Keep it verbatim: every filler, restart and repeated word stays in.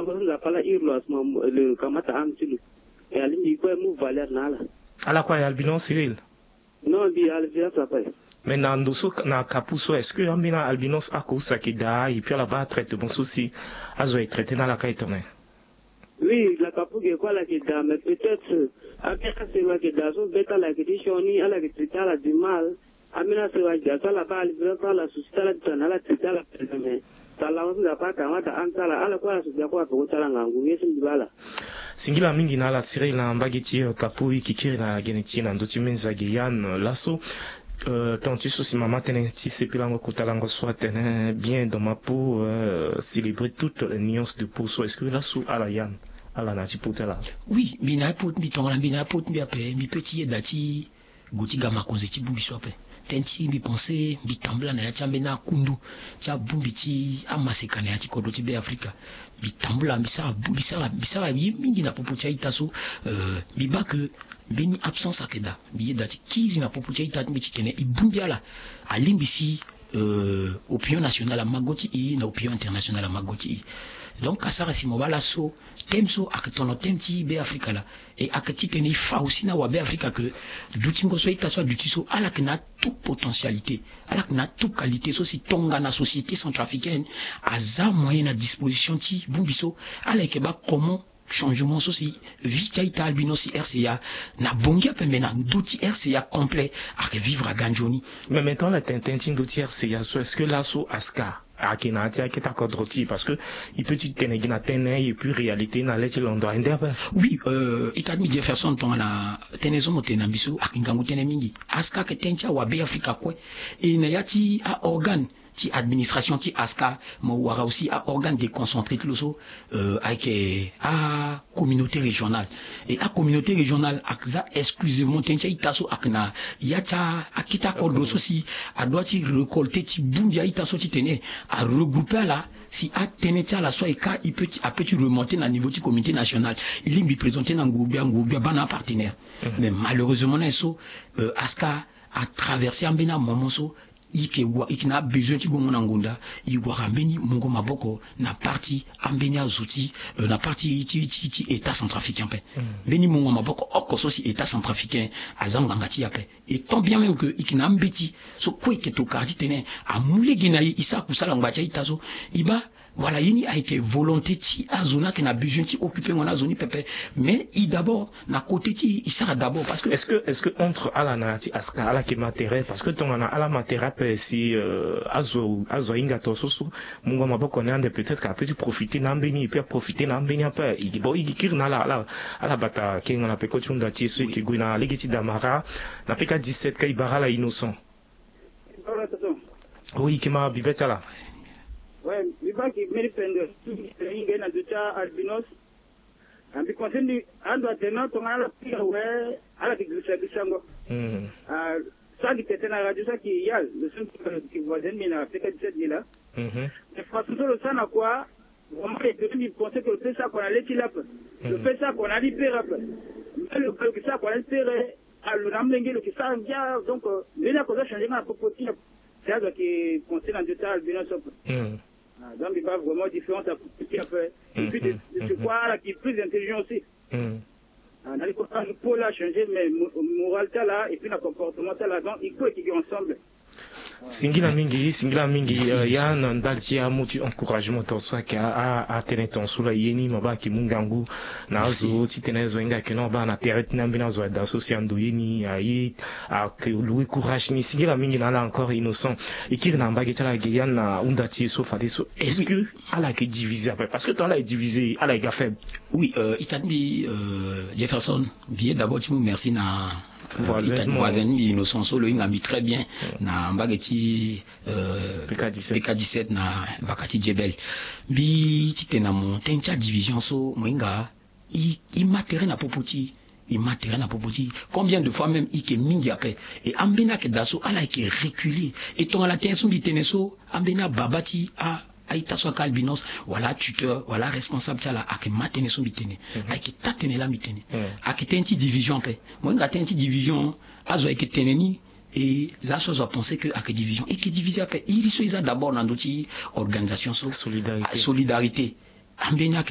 Nzapa ala iri lo asuma lo kamata âme ti lo. E alingbi kue mu valeur na ala. Ala kue aye albinos, Cyril? Non, mbi albinos ape. Mais na ndo so, na Kapu so, est-ce que ambeni albinos ako use ayeke daa, et puis ala baa traitement so si azo aye traité na ala ka e tene? Oui, na Kapu ge kue ala yeke daa, mais peut-être ambeni asewa ayeke daa so, be ti ala ayeke ti sioni, ala yeke traité ala du mal. Ambeni asewa ayeke daa so ala baa albinos so ala souci ti ala ti tene ala traité ala, mais Tala so Nzapa akamata âme ti ala, ala kue ala so bia kue apeko ti ala ngangu ye so mbi baa ala. Singila mingi na ala Cyril na mbage ti, euh, Kapu. E yeke kiri na gene ti e na ndö ti Menza ge Yann, euh, laso, euh, temps ti so si mama tënë ti sepelango kota lango so atene bien dans ma peau, euh, célébrer toutes les nuances de peau so. Est-ce que laso ala Yann, ala na ya ti peau ti ala? Oui, mbi na ya peau ti mbi, tongana mbi na ya peau ti mbi ape, mbi peut ti yeda ti gue ti ga makonzi ti bongbi so ape. Tënë ti mbi pense, mbi tambula na ya ti ambeni akundu ti abongbi ti amaseka na ya ti kodro ti Be Afrika. Mbi tambula, mbi sara, mbi sara, mbi sara ye mingi na popo ti a-ita so. Euh, mbi baa ke mbeni absence ayeke daa. Mbi yeda ti kiri na popo ti a-ita ti mbi ti tene e bongbi ala. Alingbi si, euh, opinion nationale ama go ti e, na opinion internationale ama go ti e. Donc asara si mo baa laso thème so ayeke tono thème ti Be Afrika laa. E ayeke titene e fa aussi na wabe Afrika ke dutingo so a-ita so aduti so, ala yeke na tout potentialité, ala yeke na tout qualité so si tongana société centrafricaine aza moyen na disposition ti bongbi so, ala yeke baa comment changement so si vie ti a-ita albinos ti R C A na Bangui ape, me na ndö ti R C A complet ayeke vivre aga nzoni. Mais maintenant ala tene tënë ti ndö ti R C A so, est-ce que laso ASCA ayeke na ya ti akete akodro ti e? Parce que e peut ti tene gi na tënë et puis réalité na le ti londo aye nde ape. Oui, euh, ita ti mbi Jefferson, tongana tënë so mo tene na mbi so ayeke ngangu tënë mingi. ASCA ayeke tënë ti awabe Afrika kue. E na ya ti aorgane ti administration ti ASCA, mo wara aussi aorgane déconcentré ti lo so, euh, ayeke acommunauté régionale. Et acommunauté régionale ayeke za exclusivement tënë ti a-ita so ayeke na ya ti akete akodro so si adoit ti récolter ti bongbi a-ita so titene aregrouper ala si atënë ti ala so aye ka e peut ti, apeut ti remonter na niveau ti communauté nationale. E lingbi présenter na nguru-gbia, nguru-gbia baa na apartenaire. Mais malheureusement na ye so, euh, ASCA atraverser ambeni amoment so e yeke wa, e yeke na abesoin ti gongo na ngonda. E wara mbeni mungo maboko na part ti ambeni azo ti, euh, na part ti, ti, ti, ti État centrafricain ape. Mbeni mungo maboko oko so si État centrafricain aza ngbanga ti e ape. Et tant bien même que e yeke na ambeti so kue e yeke tokara titene amu lege na e, e sara kusala ngba ti a-ita so. E baa Voilà, ye ni ayeke volonté ti azo ni ayeke na besoin ti occuper ngo na azo ni pepe. Mais e d'abord na côté ti e, e sara d'abord parce que. Est-ce que, est-ce que entre ala na ya ti ASCA ala yeke ma tere? Parce que tongana ala ma tere ape si, euh, azo, azo ahinga tongaso so, mungo maboko ni ande peut-être ka peut ti profiter na ambeni et puis aprofiter na ambeni ape. E, bon, e kiri na ala, ala, ala bata kenga na peko ti hunda ti e so e yeke gue na lege ti Damara na P K dix-sept ka e bara ala Innocent. Oui, e yeke ma bibe ti ala. Ouais, mbi baa gi mbeni pende so mbi tene e hinga ye na ndö ti albinos. Ah, mbi conseil mbi ando atene non, tongana ala pire awe, ala yeke girisa girisango. Ah, so ayeke tene na radio so ayeke ya lo so mbi yeke voisin mbi na P K dix-sept ge laa. Mais façon so lo sara na kua, vraiment e peut ti mbi pense que lo peut sara kua na le ti lo ape. Lo peut sara kua na ali pere ape. Mais lo, lo yeke sara kua na ali pere. Ah, lo na amolenge lo yeke sara ngia, donc, euh, mbeni ako aza changé nga na popo ti nyen? Si azo ayeke pensé na ndö ti albinos so ape. Ah, donc mbi baa vraiment différence ya popo ti ape. Et puis de, de ce quoi ala yeke plus intelligent aussi. Ah, na li kue azo peau la changé, mais mo-, morale ti ala et puis na comportement ti ala, donc e kue e yeke ensemble. Singila mingi, singila mingi. Merci, euh, merci. Ya na ndali ti amu ti encouragement tongaso ayeke a, a, atene tongaso laa ye ni mo baa ayeke mu ngangu na azo titene azo ahinga ayeke non, baa na tere ti ni ambeni azo ada so si ando ye ni aye, ayeke louer courage ni. Singila mingi na ala encore Innocent. E kiri na mbage ti ala ge ya na hunda ti e so fadeso. Est-ce que ala yeke divisé ape? Parce que tant ala yeke divisé, ala yeke ga faible. Oui, euh, ita ti mbi, euh, Jefferson, mbi ye d'abord ti mu merci na, euh, voisin ti mbi Innocent so lo hinga mbi très bien na mbage ti, euh, P K dix-sept. P K dix-sept na vaka ti Djebel. Mbi ti tene na mo tënë ti adivision so mo hinga, e, e ma tere na popo ti e, e ma tere na popo ti e. Combien de fois même e yeke mingi ape? E ambeni ayeke daa so ala yeke reculer. E tongana tënë so mbi tene so, ambeni ababa ti a, a-ita so ayeke albinos, wala atuteur, wala aresponsable ti ala ayeke ma tënë so mbi tene. Ayeke taa tënë laa mbi tene. Ayeke tënë ti division ape. Mo hinga tënë ti division, azo ayeke tene ni, e laso azo apensé que ayeke division. E yeke divisé ape. Iri so e za d'abord na ndö ti organisation so. Solidarité. Ah, solidarité. Ambeni ayeke